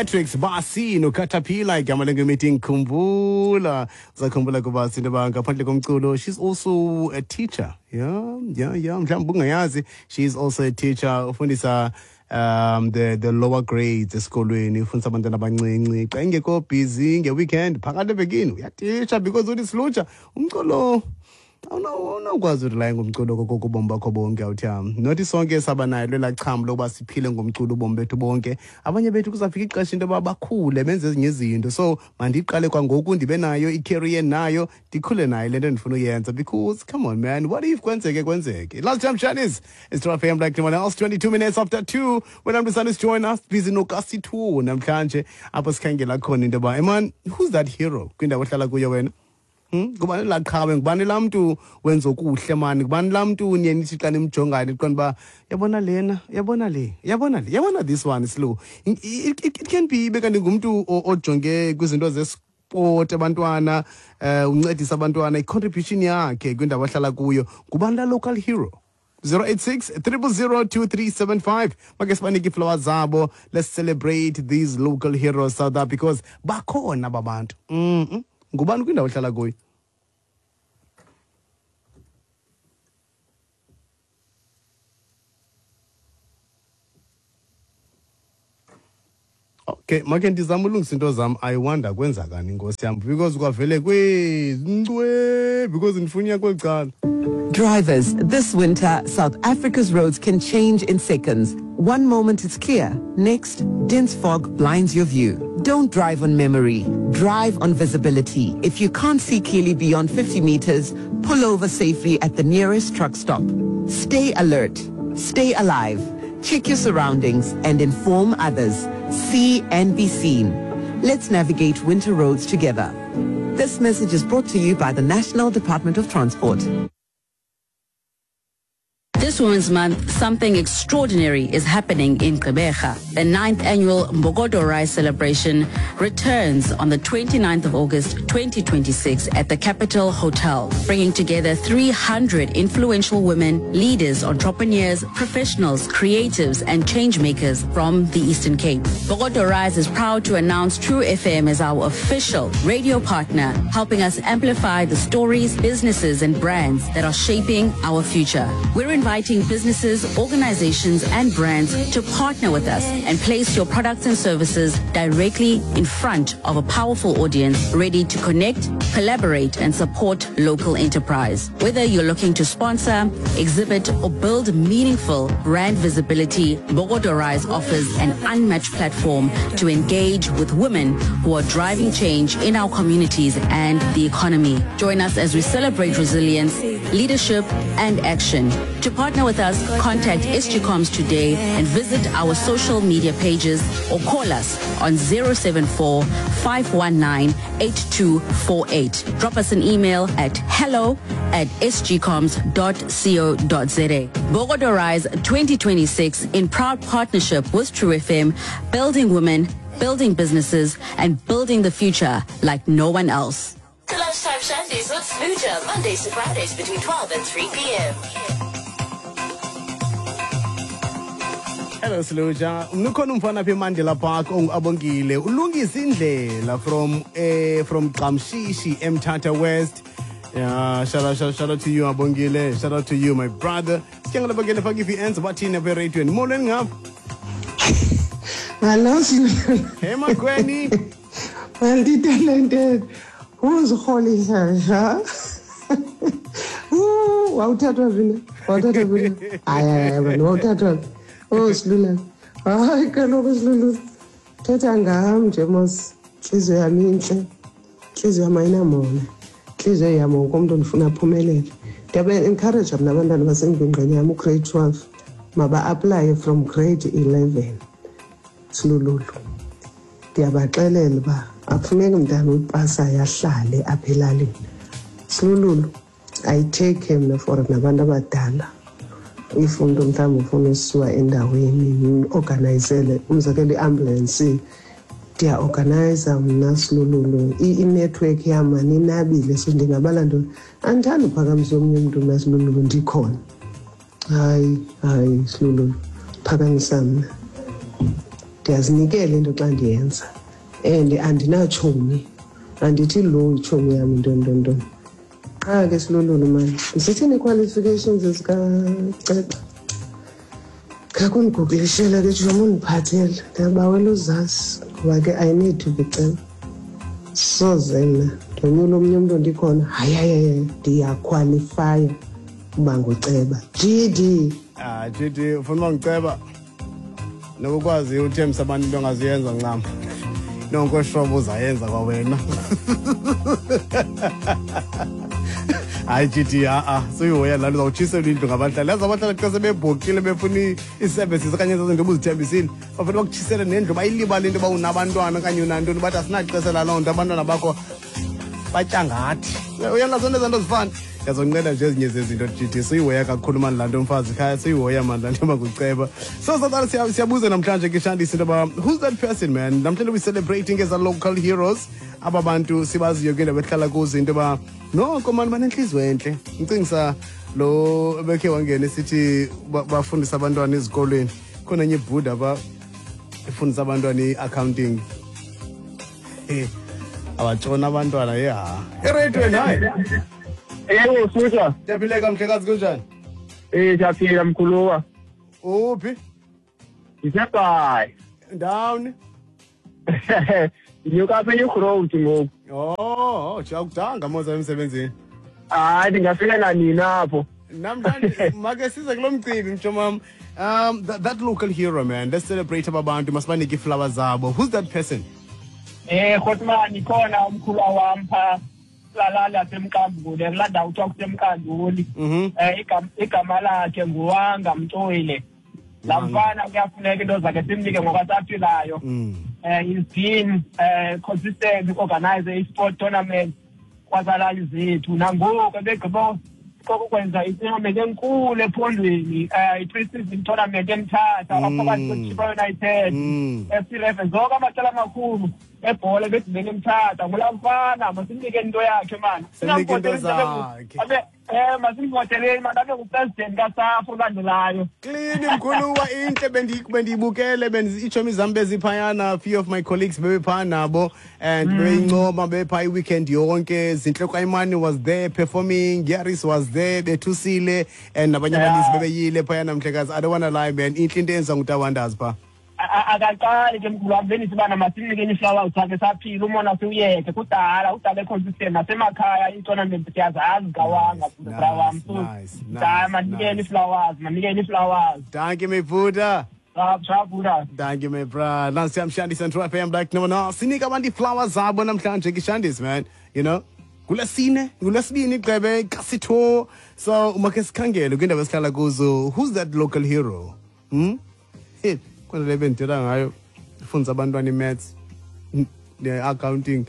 Matrix Basi noCaterpillar, igama lengoma Khumbula. Uzakhumbula kuBasi into yoba ngaphandle komculo, she's also a teacher. Yeah, mhlawumbi ungayazi, she's also a teacher. Ufundisa the lower grades esikolweni, ufundisa abantwana abancinci. Xa ingekho busy nge-weekend, phakathi evekini uyatitsha, because uthi silutsha umculo awunawukwazi urelaya ngomculo koko ubomi bakho bonke. Awuthiyam, nothi sonke saba nayo lelaa cham lokuba siphile ngomculo ubomi bethu bonke. Abanye bethu kuzawufika ixesha into yoba bakhule, benze ezinye izinto. So mandiqale kwangoku, ndibe nayo i-career nayo, ndikhule nayo le nto ndifuna uyenza, because come on man, what if kwenzeke kwenzeke? Last time Shanice, it's True FM like no one else, 22 minutes after 2. When I'm the join us, busy nokasi 2 namhlanje, apho sikhangela khona into yoba, man, who's that hero kwindawo ohlala kuyo wena? Ngubani laa qhawe? Ngubani laa mntu wenza okuhle mani? Ngubani laa mntu niye nithi xa nimjongayo niqonda uba yabona lena, yabona le, yabona le, yabona this one slow? It can be ibe kanti ngumntu ojonge kwizinto zesport, abantwana, uncedisa abantwana, i-contribution yakhe kwindawo ahlala kuyo. Ngubani laa local hero? 086 000 2375. Make sibanike ii-flowers zabo. Let's celebrate these local heroes out there, because bakhona aba bantu. Ngubani kwindawo ohlala kuyo? Okay, make ndizame ulungisa into zam. I wonder kwenzakani, inkosi yam, because kwavele kwezincwe, because ndifuna uya kweli cala. Drivers, this winter, South Africa's roads can change in seconds. One moment it's clear, next, dense fog blinds your view. Don't drive on memory, drive on visibility. If you can't see clearly beyond 50 meters, pull over safely at the nearest truck stop. Stay alert, stay alive, check your surroundings and inform others. See and be seen. Let's navigate winter roads together. This message is brought to you by the National Department of Transport. This Women's Month, something extraordinary is happening in Gqeberha. The 9th annual Mbokodo Rise celebration returns on the 29th of August 2026 at the Capital Hotel, bringing together 300 influential women, leaders, entrepreneurs, professionals, creatives, and change makers from the Eastern Cape. Mbokodo Rise is proud to announce True FM as our official radio partner, helping us amplify the stories, businesses, and brands that are shaping our future. We're inviting businesses, organizations, and brands to partner with us and place your products and services directly in front of a powerful audience ready to connect, collaborate, and support local enterprise. Whether you're looking to sponsor, exhibit, or build meaningful brand visibility, Mbokodo Rise offers an unmatched platform to engage with women who are driving change in our communities and the economy. Join us as we celebrate resilience, leadership, and action. To partner with us, contact SGComs today and visit our social media pages or call us on 074 519 8248. Drop us an email at hello@sgcoms.co.za. Mbokodo Rise 2026, in proud partnership with True FM, building women, building businesses, and building the future like no one else. The Lunchtime Shandies with Smooja, Mondays to Fridays between 12 and 3 p.m. Hello Siluja, ukhona umfana apha eMandela Park onguAbongile, ulungisa indlela from Qamshishi eMthatha West. Yeah, shout out, shout, shout out to you, Abongile. Shout out to you, my brother. Siyangela Abongile, faka i-VNs bathini apha eradiweni. Molweni ngapha. Hello, Silulu. Hey Magweni. Multi-talented. Uzirholisa nja. Wawuthathwa phi na? Wawuthathwa phi na? Hayi, hayi, hayi, wawuthathwa phi? Oh, Silula. Hayi kaloku Silulu. Thetha ngam nje mos. Intliziyo yam intle. Intliziyo yam ayinamona. Intliziyo yam wonke umntu ndifuna aphumelele. Ndiyaba-encourage mna abantwana basengingqini yam ugrade 12 maba-aplaye from grade 11. Silululu. Ndiyabaxelela uba akufuneki mntana upasayo ahlale apha elalini. Silululu, I take care mna for nabantu abadala. If umntu mhlawumbi ufuna usiwa endaweni, organizele, umzekelo iambulance, ndiyaorganiza mna Silululu. Inetwork yam aninabile, so ndingabala ntoni? Andithandi uphakamisa omnye umntu mna Silululu ndikhona. Hayi, hayi Silululu, phakamisa mna. Ndiyazinikela into xa ndiyenza and andinatshomi, andithi lo itshomi yam ntoni ntoni ntoni. Qha ke silolulu mani, zithini ii-qualifications zikaceba? Khakundigooglishela ke tshomi undiphathele, ndiyabawela uzazi ngoba ke I need to be ceba. Soze mna ndonyula omnye umntu ndikhona, hayi hayi hayi, ndiyakhwalifaya uba nguceba. GD. Ah, GD, ufuna uba nguceba? Nokukwazi uthembisa abantu into ongazuyenza ncam. Nonke shobo uzayenza kwawena. Hayi GD, ha-a, suyihoya laa nto, uzawutshiselwa indlu ngabahlali. Yazi abahlali xa sebebhokile befuna ii-services okanye ezo zinto ubuzithembisile, bafuna bakutshisele nendlu, bayilibale into yoba unabantwana okanye unantoni, bathi asinaxesha laloo nto, abantwana bakho batya ngathi. Uyalazi zonke ezaa nto zifana. Ndiyazonqena nje ezinye zezinto, GD. Suyihoya kakhulu mani laa nto, mfazi khaya, suyihoya mani laa nto makuceba. So Sathana, siyabuza namhlanje ke Shandisi into yoba who's that person, man? Namhlanje we celebrating as a local heroes, aba bantu sibaziyo kwiindawo ehlala kuzo into yoba noko mani banentliziyo entle. Ngicingisa lo ebekhe wangena esithi bafundisa abantwana ezikolweni, khona enye ibhuda pha ifundisa abantwana i-accounting. Abatshona abantwana yeha ereyidweni. Hayi. Yebo, Suta. Ndiyaphileka mhlekazi, kunjani? Siyaphila mkhuluwa. Uphi? Ndisebhayi. Ndawuni? Ndinyuka apha eNew Road ngoku. Oh, akudanga moza emsebenzini. Hayi, ndingafika nanini apho. Namhlanje make size kulo mcimbi, mtsho. That local hero, man. Let's celebrate aba bantu, masibanike iiflower zabo. Who's that person? Khotman, ikhona umkhuluwa wam phaa kulalali yasemkambule, kulaa ndawo kuthiwa kusemkanduli. Igama lakhe nguWanga Mtoyile. Laa mfana kuyafuneka into zakhe simnike ngokwasaphilayo. He's been consistent organize i-sport tournament kwazalali zethu, nangoku ebegqiba kokwenza i-tournament enkulu ephondweni, i-pre-season tournament eMthatha, aphakathi kweChippa United, FC Leopards, zonke amaqela amakhulu ebhola ebedibene eMthatha. Ngulaa mfana, masimnike into yakhe mani. Simnike into zakhe. Masimvoteleni mani, abe ngupresident kaSAFA olandelayo. Clean mkhuluwa, intle bendiyibukele, iitshomi zam beziphayana, few of my colleagues bebephaa nabo and bebeyincoma, bebephaa i-weekend yonke. Zintle Kwayimani was there performing, Yaris was there, bethusile, and nabanye abaninzi bebeyile phayana mhlekazi. I don't wanna lie, man, intle into eyenziwa ngutawanders phaa. Akaqali ke mkhulu wam, bendithi ubana masimnikeni ii-flowers zakhe saphila, umona siwuyeke, kudala udala econsistent nasemakhaya, ii-tournament siyazazi kawanga bra wam. So hayi, manikeni ii-flowers, manikeni ii-flowers. Dankie, my buda. Sharp. Thank you, my bra. Nansi Shandis and True FM like no one. Sinika abantu ii-flowers zabo namhlanje ke Shandis, man. You know? Ngulesine, ngulesibini gqebe kasitho. So make sikhangele kwindawo esihlala kuzo. Who's that local hero? Hey, khona le bendithetha ngayo. Ifundisa abantwana i-maths, ne-accounting.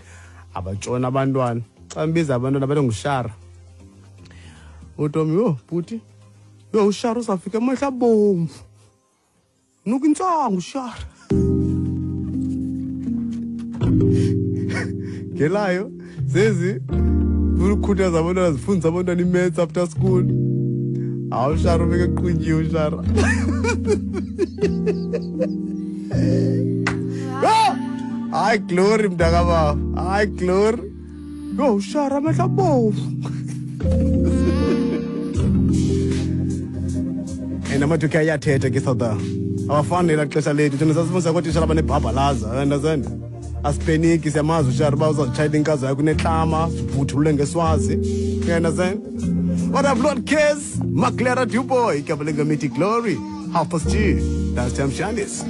Abatshona abantwana. Xa mbiza abantwana bathi ngushara. Utomi, yo, bhuti. Yo, ushara uzawufika amehlo abomvu. Nuka intsangu ushara. Ngelayo zezi ukukhuthaza abantwana, zifundisa abantwana i-maths after school. Hawu, ushara ubeke eqhunyiwe ushara. Ah! Hayi glory mntakababa, hayi glory. Yo, ushara amehlo abomvu. And amadoda ayathetha ke South, abafani nelaa xesha lethu thina sasifundisa kootitshala abanebhabhalaza, understand? Asipeniki, siyamazi ushara uba uzazitshayela inkazo yakho unetlama, sivuthulule ngeswazi, you understand? What up, Lord Kes Maclera Duboy, igama lengoma ithi Glory. 2:30, that's Tam Shandis.